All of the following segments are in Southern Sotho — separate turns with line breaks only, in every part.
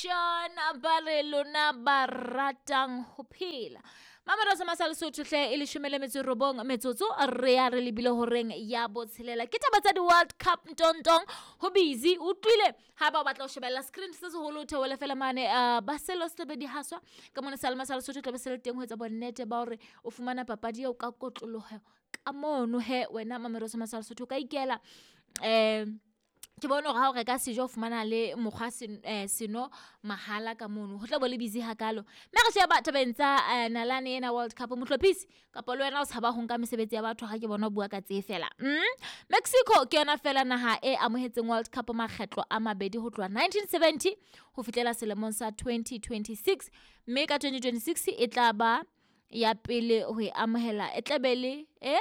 Nation ba re lona ba ratang ho phela. Mamerosa masa Lesotho hle e leshome le metso e robong metsotso re ya re lebile horeng ya botshelela. Ke taba tsa di-World Cup ntontong ho busy o utlwile ha ba o batla ho shebella screen se seholo o theohele fela mane ba selo se tlabe di haswa ka mona sealema sa Lesotho tlabe se le teng ho etsa bonnete ba hore o fumana papadi eo ka kotloloho ka mono he wena Mamerosa masa Lesotho o ka ikela ke bone hore ha o reka sejo o fumana le mokgwa seno mahala ka mono ho tla bo le busy hakalo. Mme re sheba tabeng tsa nalane ena World Cup mohlophisi kapa le wena o tshaba ho nka mesebetsi ya batho ha ke bona o bua ka tse fela. Mexico ke yona fela naha e amohetseng World Cup makgetlo a mabedi ho tloha 1970 ho fihlela selemong sa 2026 mme ka 2026 e tla ba ya pele ho e amohela e tla be le e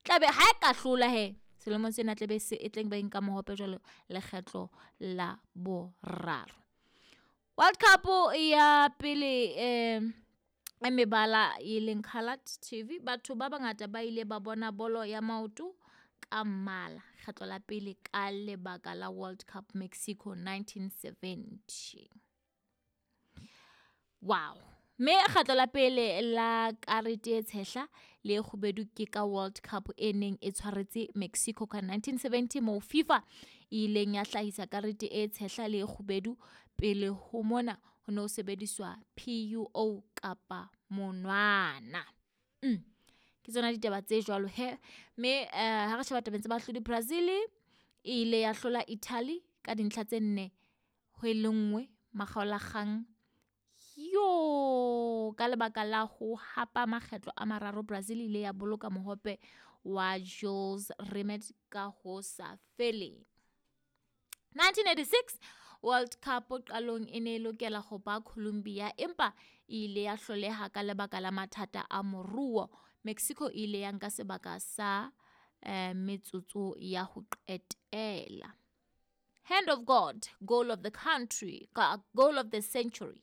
tlabe ha e ka hlola he selemong sena tlabe se e tleng ba nka mohope jwalo lekgetlo la boraro. World Cup ya pele e mebala e leng colored TV batho ba bangata ba ile ba bona bolo ya maoto ka mmala kgetlo la pele ka lebaka la World Cup Mexico 1970. Wow. Mme kgetlo la pele la karete e tshehla le e kgubedu ke ka World Cup e neng e tshwaretse Mexico ka 1970 moo FIFA e ileng ya hlahisa karete e tshehla le e kgubedu. Pele ho mona ho ne ho sebediswa PUO kapa monwana. Ke tsona ditaba tse jwalo he mme ha re sheba tabeng tsa bahlodi Brazil e ile ya hlola Italy ka dintlha tse nne ho e le nngwe makgaolakgang. Yo ka lebaka la ho hapa makgetlo a mararo Brazil ile ya boloka mohope wa Jules Rimet ka ho sa feleng. 1986 World Cup qalong e ne e lokela ho ba Colombia empa e ile ya hloleha ka lebaka la mathata a moruo. Mexico e ile ya nka sebaka sa metsotso ya ho qetela. Hand of God, goal of the country, goal of the century.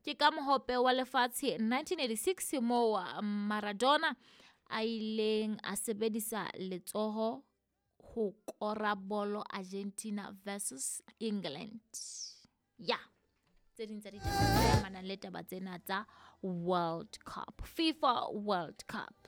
Ke ka mohope wa lefatshe 1986 moo Maradona a ileng a sebedisa letsoho ho kora bolo Argentina versus England. Ya tse ding tsa ditaba tse amanang le taba tsena tsa World Cup, FIFA World Cup.